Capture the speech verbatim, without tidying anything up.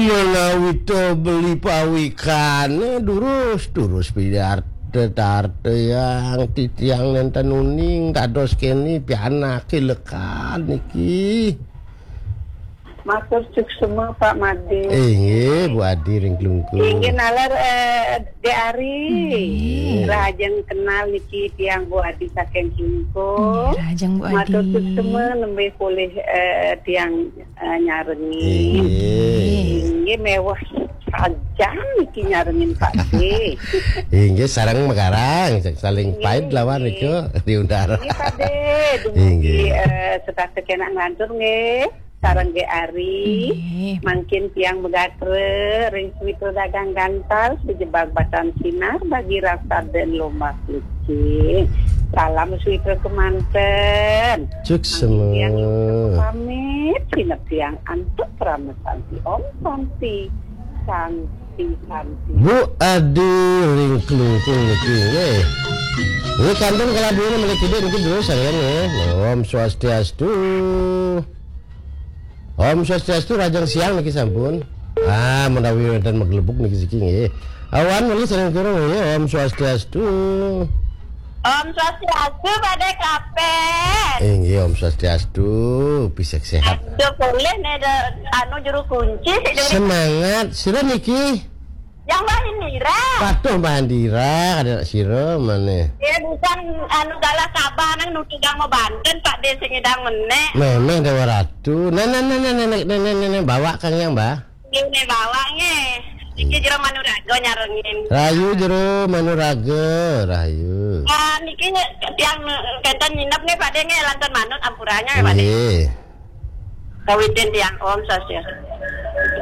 Menawi to beli pawikane durus-durus pidarta tarta yang titiang nenten uning dados kene pianake lekan niki. Matur suksema Pak Made. Inggih, Bu Adi ring Klungkung. Inggih nalar eh, Dek Ari. Inggih. Rahajeng kenal niki tiang Bu Adi saking Klungkung. Inggih, rahajeng Bu Adi. Matur suksema nembe polih eh, tiang eh, nyarengin. Inggih. Inggih mewah sajam niki nyarengin Pak De. Inggih sareng megarang saling pait lawan niku diundar. Inggih Pak De, dumugi Inggih. Eh, setata kenak ngantur nggih. Sareng Dek Ari, inggih. Mangkin tiang megatra ring Switra Dagang Gantal sejebag batan sinar bagi rasa dan lombak licin. Salam Switra kemanten. Cuk. Mangkin tiang semua. Pamit, sinep tiang antuk parama santi. Om Santi, Santi, Santi. Bu Adi ring Klungkung niki nggih. Nggih kantun kalabuhan mriki niki terus saya nggih. Om Swastiastu. Om Swastiastu, rahajeng siang niki sampun. Ah, menawi wonten maglebuk niki siki nggih. Awan mriki sareng kira nggih. Om Swastiastu. Om Swastiastu Pak De Kapen. Inggih, Om Swastiastu. Pisek sehat. Aduh, boleh nih ada anu juru kunci sik dari semangat, sira niki. Yang lain nira. Patuh Mbah Andira, ada sira maneh. Ya bukan anu galah Sabah nang nutu dang mau Banten Pak De sing ngedang menek. Memeh Dewa Ratu. Nah, nah, nah, nah, nah, nah, nah, nah, nah, bawa Kang Yang, Mbah. Ini bawa nge. Iki jero Manuraga nyarengin. Rayu jero Manuraga, rahayu. Ah, niki nye- tiang kenten nginep nih Pak De nge lanten manut ampuranya ya Pak De. Nggih. Kawitin tiang Om Swastiastu.